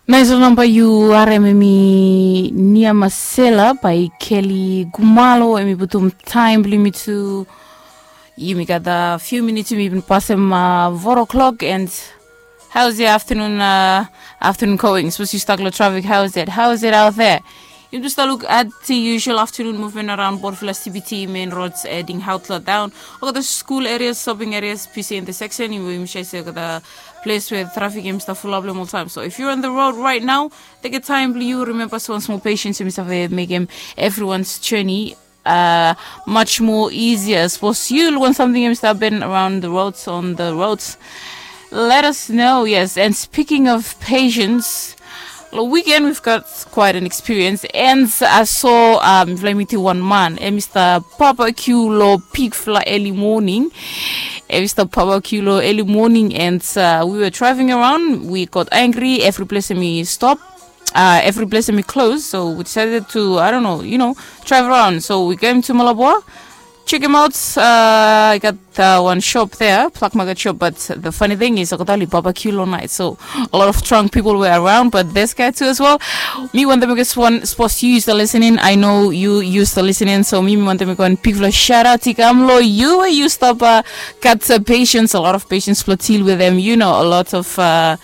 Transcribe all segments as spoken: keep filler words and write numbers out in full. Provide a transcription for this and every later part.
Nais ol namba yu harem, em i Nia Masela by Kelly Gumalo. Em i putum taem blong yumi tu. Yumi gat a few minutes, yumi bin pasem a four o'clock. And how's the afternoon, uh, afternoon going? Sapos yu stuck long traffic, how's it? How's it out there? Yumi tu stap luk at the usual afternoon movement around Port Vila C B T main roads heading Hautla down. Olgeta school areas, shopping areas, busy intersection. Yumi, yumi sure se olgeta ples we traffic em i stap fulap long oltaem. So if you're on the road right now, take a time, you remember, so one small patience, em i save mekem everyone's journey uh, much more easier. Sapos yu luk wan samting em i stap hapen around the roads, on the roads, let us know. Yes, and speaking of patience, long weekend we've got quite an experience. And I saw, um, mifala i mitim wan man, em i stap barbecue long bigfala early morning. Em i stap barbecue long early morning, and uh, we were driving around. We got angry. Every ples em i stop, uh, every ples em i close. So we decided to, I don't know, you know, drive around. So we came to Malabo, check him out. Uh, I got uh, one shop there, Black Market shop. But the funny thing is, olgeta oli barbecue long nait. So a lot of drunk people were around, but this guy too as well. Mi wantem mekem sapos yu stap listening, I know yu, yu stap listening. So mi, mi wantem mekem wan bigfala shout out i kam long yu, yu stap uh, gat uh, patience, a lot of patience, plot deal with them. You know, a lot of uh,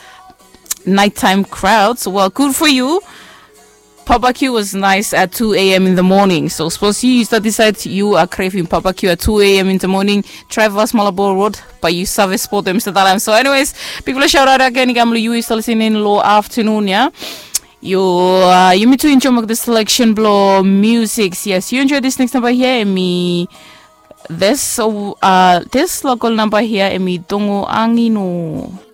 nighttime crowds. Well, good for you. Barbecue was nice at two a.m. in the morning. So sapos yu, yu stap decide yu are craving barbecue at two a.m. in the morning, drive vas Malabo Road, bae yu save spot em, Mister Talam. So anyways, bigfala shout out again i kam long yu, yu stap listening long afternoon, yeah? Yu, uh, yumi tu enjoy the selection blong music. Yes, yu enjoy this next number here, em i this, uh, this local number here, em i Dongo Angino.